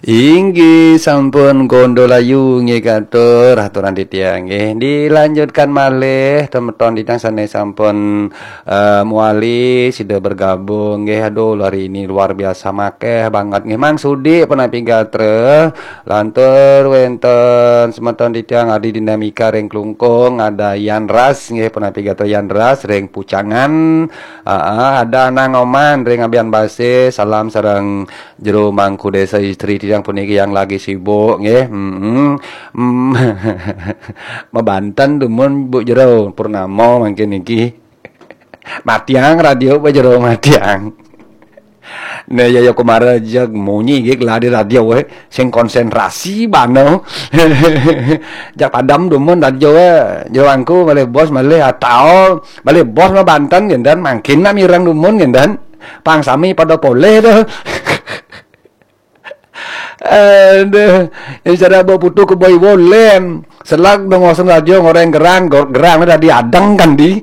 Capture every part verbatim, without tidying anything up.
Inggih sampun Gondolayu nggih katur aturan titiang nggih. Dilanjutkan malih semeton titiang sane sampun eh, muali sida bergabung nggih. Aduh, hari ini luar biasa makeh banget nggih. Mang Sudi punapi gatra, lantur wenten semeton titiang Adi Dinamika ring Klungkung, ada Yan Ras nggih, punapi gatra Yan Ras ring Pucangan. Aa, ada Nang Oman ring Abian Base, salam sareng jero mangku desa istri titiang puniki yang lagi sibuk nggih. Mm-mm. Mm. Mabanten dumun Bu Jero Purnama mangkin niki. Matiang radio, Bu Jero, matiang. Nah, ya, ya, kemarin aja munyi nggih lah di radio, eh. Sing konsentrasi bana. Jak padam dumun radio, eh. Jero mangku malih bos malih atau malih bos mabanten nggih, dan mangkin nak mireng dumun nggih, dan pang sami pada polih to. Aduh, ya cara bawa putu ke boy bolen. Selag dong ngosong radio ngoreng gerang, gor-, gerang tadi adeng kan di.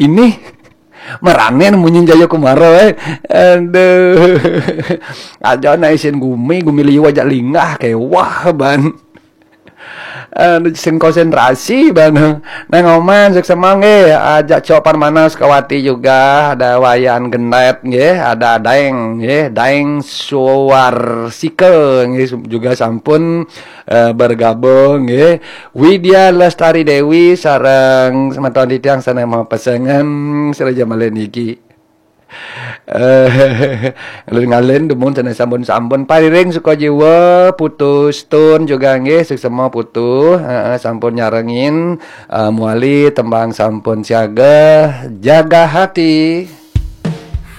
Ini meranen munyi Jaya Kumara, eh. Aduh. Aja na isin gumi, gumi liu aja linggah kewah ban. Aduh, sing konsentrasi ban. Nang Oman, suksema nggih, ajak Cok Parmana Sukawati juga, ada Wayan Genet nggih, ada Daeng nggih, Daeng Suwarsika nggih, juga sampun eh, bergabung nggih. Widya Lestari Dewi sareng semeton titiang sane mapesengan sira jamalin iki. Eh, ngalin-ngalin dumun sane sampun-sampun pariring suka jiwa, putus tun juga nggih, suksema putu, heeh, sampun nyarengin, eh, muali tembang sampun siaga, jaga hati.